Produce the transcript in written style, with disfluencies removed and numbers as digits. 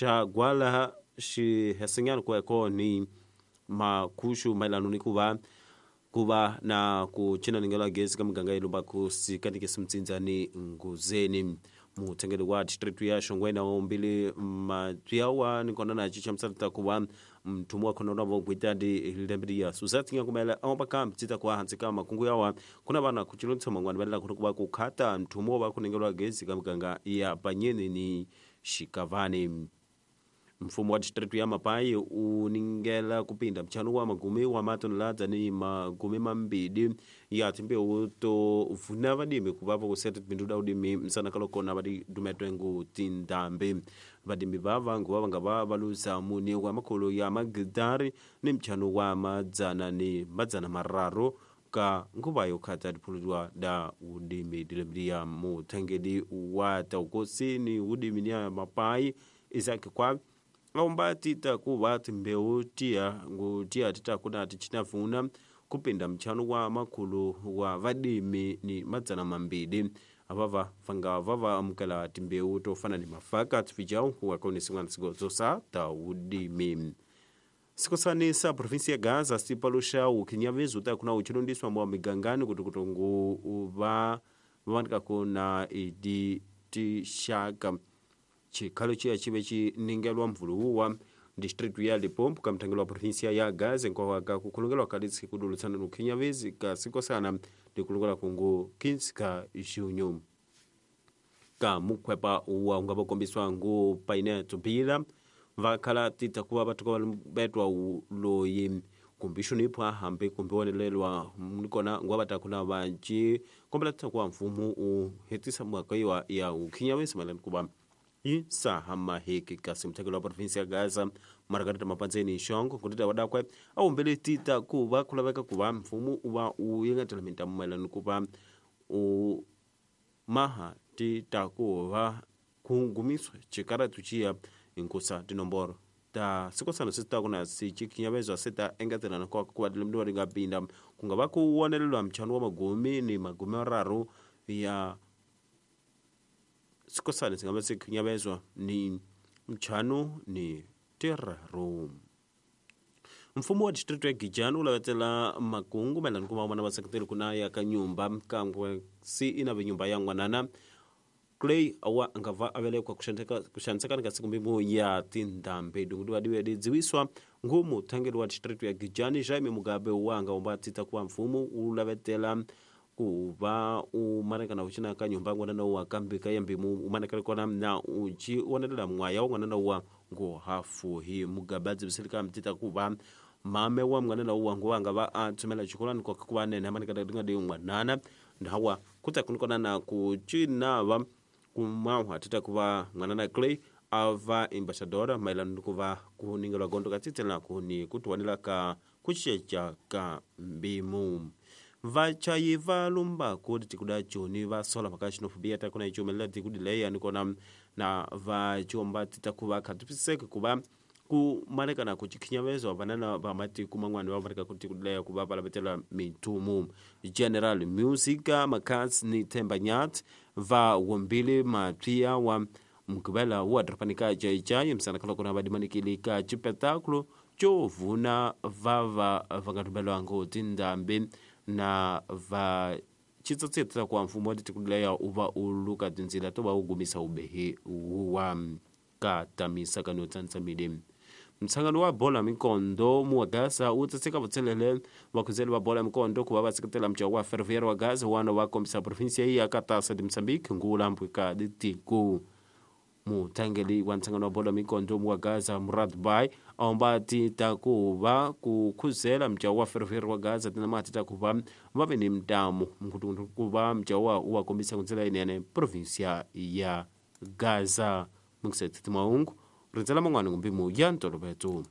Xa gwala xihesenyana kweko ni makhuxu mayelana ni ku va ku va na ku cina ningelo gezi ka miganga ya Lumbakusi kanikisi Mtsindza ni Nguzeni. Muthengeli wa district ya Shongweni wa umbili mapyawa ni kona na chichamisana ta ku va mthumu wa khona vo gwita di lembe ya Suzette Nyakumela aomba ka mtsita kwa hansi ka makungu yawa kuna vana kuchilontsha mangwana valela ku va ku khata mthumu wa kuningelwa gezi ka miganga ya Banyeni ni Xikavani. Mfumo wa district ya Mapai u ningela kupinda mchano wa magumi wa matonelada ni magumi mambili ya timbewu to vuna vadimi ku va kuseta tibindu da udimi msana kalokona vadi dumetwengu tindambi vadimi vava nguva vanga va valuza muni wa makolo ya magidari ni mchano wa madzana ni madzana mararu ka nguva yo khata diphululwa da udimi dilembiya muthengeli wa taukosi ni udimi ni ya Mapai Isaac kwa aomba tita kuva timbewu tiya ngutiya tita kuna tichinavuna kupinda mchano wa makulu wa vadimi ni madzana mambili avava vanga vava amukela timbewu tofana ni mafaka tifijau wakoni singwana sigozosa ta udimi. Sikosanisa provinsi ya Gaza sipalusha ukhinyavezu ta kuna uchilondiswa mwa migangani kuti kutongu uva vanika kuna idi tishaka chikhalo chiya chive chiningelwa mvuluwa district ya Limpopo kamthangelo wa provinsia ya Gaza nkwawaka kukhulungelwa kalitsi kudulutsana nukhinyavezi ka sikosana ndikulungela kungu 15 ka junho ka mukhwepa uwa ungava kombiswa ngu paine tubila vakhala tita kuva vathu ka betwa loyi kumbi xonipha hambi kumbi wonelelwa nikona nguva va ta kuna vanci kombela tita kuva mfumo u hetisa mhaka yiwa ya ukhinyavezi mayelana kuva yi sahamaheki kasi muthekelo wa provinsi ya Gaza Margarita Mapanzeni Xongo kutita wadakwe a humbele tita ku va ku laveka ku va mfumo u va u yengetela mintamu mayelana ku va u maha tita ku va ku gumiswa xikaratu xiya hinkusa tinomboro ta sikosana swi ta ku na sicikhinyavezwa se ta engetelana kwa ku va tilembiwa ri nga pinda ku nga va ku wonelelwa mchano wa magumi ni magumi mararu ya sikosana singava sikhinyavezwa ni mchano ni tiraru. Mfumo wa district ya Gijani u lavetela makungu mayelana ku va vona vaseketeli kuna ya ka nyumba kangwe si ina ve nyumba ya n'wanana Clay awa nga va avelekwa kuxanisekana ka siku mbimu ya tindhambi dungudu vadiwe didziwiswa ngu muthangeli wa district ya Gijani Jaime Mugabe wanga umba tita kuva mfumo u lavetela ku va u manekana u ka nyumba n'wanana wa kambi ka yambimu u manekana kona na uci wonelela mwaya wa n'wanana wa ngo hafuhi. Mugabe a dzivisile ka mtita ku va mame wa n'wanana wa ngo wanga va a tsumela xikolani koka ku va nene manekana ringa di n'wanana ndawa kuta kunikona na ku cinava kumahwa tita ku va n'wanana Clay a va ambassadora mayelana ni ku va ku ningelwa gondo ka tsitsela ku ni ku tiwanela ka ku cinca ka mbimu. Vachayi va lumbaku tikuda joni va sola mhaka xinofobiya ta kuna icumelela tikudileya nikona na va ciomba tita ku va khatwisiseke ku va ku manekana ku cikhinyavezwa vanana va matiko man'wana va maneka ku tikudileya ku va va lavetela mintumu. General Music Makats ni Themba Nyat va wombile mapyiya wa Mugqivela wa dorobani ka Jaijayi misana kaloko va dimanikile ka xipetakulu xo vuna vava va nga rhumeliwangi tindhambi na va xitsotsi ku mfumo wa tikuleya u va u luka tindzila to va u gumisa ubehi wa ka tamisa ka no tsantsamile. Mtshangano wa bola mikondo mu wa Gaza wu tsatseka vutselele vakhuzeli va bola mikondo ku va va seketela mjaho wa Ferroviário wa Gaza wana wa kombisa provinsia ya ka tasa de Moçambique ngula mpwika tiko. Muthangeli wa ntshangano wa bola mikondo wa Gaza Murad Bay aomba tita ku va ku khuzela mjaho wa Ferroviário wa Gaza tina mati ta ku va va ve ni mtamu mkutundu ku va mjaho wa kombisa ku ndlela yinene provinsia ya Gaza. Mukiseti maungu rindzela man'wana ngumbimu ya ntoloveto.